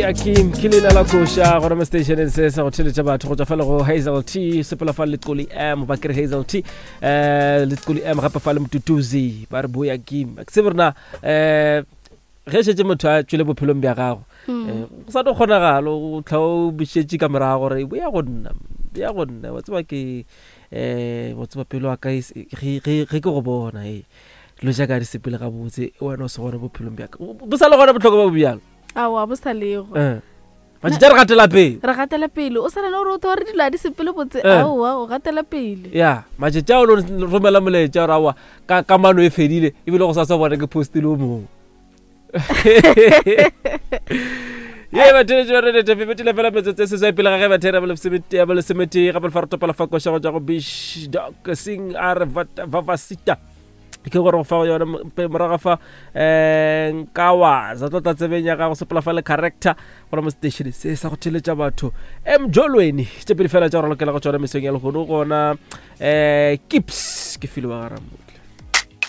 Boyakim ke leina la koša gona mo stationeng se sa go theletša batho go tšwa fa le go Hazel T sepela fa Leqoli M ba kere Hazel T eh Leqoli M gape fa le Mtutuzi ba re Boyakim ke tsebe rena eh ge šetše motho a tšwele bophelong bja gago hmm. eh, go sa tlo kgonagalo o tlha o bušetše ka morago gore boya go nna boya go nna wa tseba ke um wa tseba pelo wa ka e ge ke go bona e dilo tša ka di sepele gabotse wena o se gona bophelong bjaka bo sa le gona botlhokwa ba bo bjalo aowa bo sa lego eh. matšatši a re gatela pele re gatela pele o sa le gore o tho re dilo a di sepele botse eh. aowa o gatela pele ya matšatši a o romela molaetša gore aowa ka kamano e fedile ebile go sa sa bona ke postile o mongwe ye batheletši ba redete febetile fela metsotso e seswai pele ga ge bathera ya bolesometee gape lefa re topela fa koša go tša go bish dok sing a re vavasita ke gore go fa yone morago fa um nkawa za tlo tla tsebeng ya gago sepela fa le character gona mo station se sa go theletša batho mjolweni tše pedi fela tša go ralokela go tšona mesong ya lehono gona um kips ke file wa garamotho.